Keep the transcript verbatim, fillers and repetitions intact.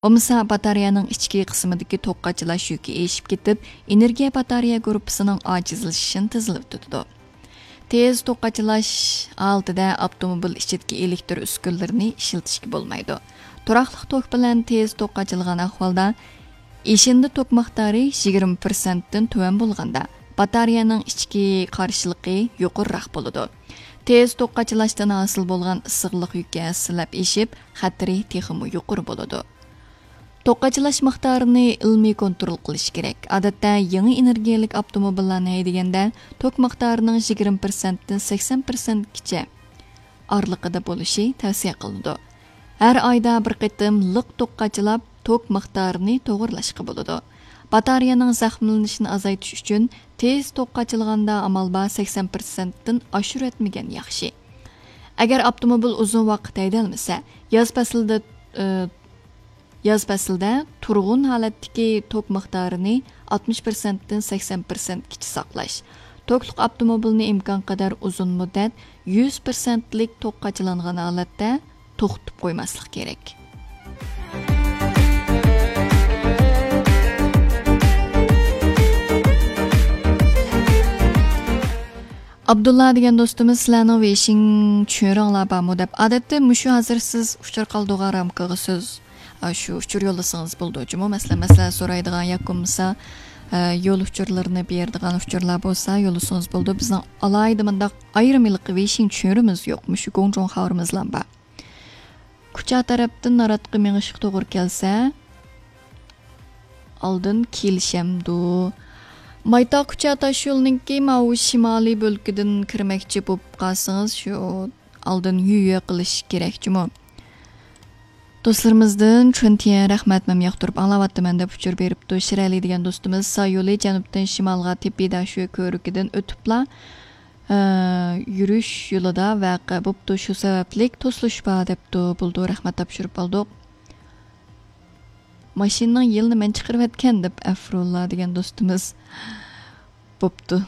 بولمىسا باتارېيەنىڭ ئىچكى قىسمىدىكى توك قاچىلاش يۈكى ئېشىپ كېتىپ، ئېنېرگىيە باتارېيە گۇرۇپپىسىنىڭ ئاجىزلىشىشىنى تېزلىتىدۇ. تېز توك قاچىلاش ھالىتىدە ئاپتوموبىل ئىچىدىكى ئېلېكتر ئۈسكۈنىلىرىنى ئىشلىتىشكە بولمايدۇ. تۇراقلىق توك بىلەن تېز توك قاچىلىغان ئەھۋالدا ئېشىندا توك مىقدارى يىگىرمە پىرسەنتتىن تۆۋەن بولغاندا، باتارېيەنىڭ ئىچكى قارشىلىقى يۇقىرىراق بولىدۇ. تېز توك قاچىلاشتىن ھاسىل بولغان ئىسسىقلىق يۈكى ھەسسىلەپ ئېشىپ، خەتىرى تېخىمۇ يۇقىرى بولىدۇ. توك قاچىلاش مىقدارىنى ئىلمىي كونترول قىلىش كېرەك. ئادەتتە يېڭى ئېنېرگىيەلىك ئاپتوموبىللارنى ھەيدىگەندە، توك مىقدارىنىڭ يىگىرمە پىرسەنتتىن سەكسەن پىرسەنتكىچە ئارىلىقىدا بولۇشى تەۋسىيە قىلىنىدۇ. ھەر ئايدا بىر قېتىم لىق توك قاچىلاپ، توك مىقدارىنى توغرىلاشقا بولىدۇ. باتارېيەنىڭ زەخىملىنىشىنى ئازايتىش ئۈچۈن، تېز توك قاچىلىغاندا ئامال بار سەكسەن پىرسەنتتىن ئاشۇرۇۋەتمىگەن ياخشى. ئەگەر ئاپتوموبىل ئۇزۇن ۋاقىت ھەيدەلمىسە، ياز پەسلىدە، ئى، ياز پەسلىدە تۇرغۇن ھالەتتىكى توك مىقدارىنى ئاتمىش پىرسەنتتىن سەكسەن پىرسەنتكىچە ساقلاش. توكلۇق ئاپتوموبىلنى ئىمكانقەدەر ئۇزۇن مۇددەت يۈز پىرسەنتلىك توك قاچىلانغان ھالەتتە توختىتىپ قويماسلىق كېرەك. ئابدۇللا دېگەن دوستىمىز، سىلەرنىڭ ۋېيشىڭ چۈنرىڭلار بارمۇ دەپ. ئادەتتە مۇشۇ ھازىر سىز ئۇچۇر قالدۇرغان رامكىغا سىز، ئا، شۇ ئۇچۇر يوللىسىڭىز بولىدۇ جۇمۇ. مەسىلەن، مەسىلە سورايدىغان ياكى بولمىسا، ئە، يول ئۇچۇرلىرىنى بېرىدىغان ئۇچۇرلار بولسا يوللىسىڭىز بولىدۇ. بىزنىڭ ئالاھىدە مۇنداق ئايرىم ھېلىقى ۋېيشىڭ چۈنرىمىز يوق. مۇشۇ گۇڭجۇڭ خاۋىرىمىزلا بار. كۇچا تەرەپتىن ناراتقا مېڭىشقا توغرا كەلسە، ئالدىن كېلىشەمدۇ؟ مايتاغ كۇچا تاشيولىنىڭكى ماۋۇ شىمالىي بۆلىكىدىن كىرمەكچى بولۇپ قالسىڭىز، شۇ ئالدىن يۈيۈ قىلىش كېرەك جۇمۇ. دوستلىرىمىزدىن چۈنتىيەن رەھمەت، مەن ياقتۇرۇپ ئاڭلاۋاتىمەن دەپ ئۇچۇر بېرىپتۇ. شىرئەلى دېگەن دوستىمىز، ساي يولى جەنۇبتىن شىمالغا تېپى داشۆ كۆۋرۈكىدىن ئۆتۈپلا، ئە، يۈرۈش يولىدا ۋەقە بوپتۇ، شۇ سەۋەبلىك توسۇلۇش بار دەپتۇ. بولدى، رەھمەت، تاپشۇرۇپ ئالدۇق. ماشىنىنىڭ يىلىنى مەن چىقىرىۋەتكەن دەپ ئەفرۇللا دېگەن دوستىمىز. بوپتۇ.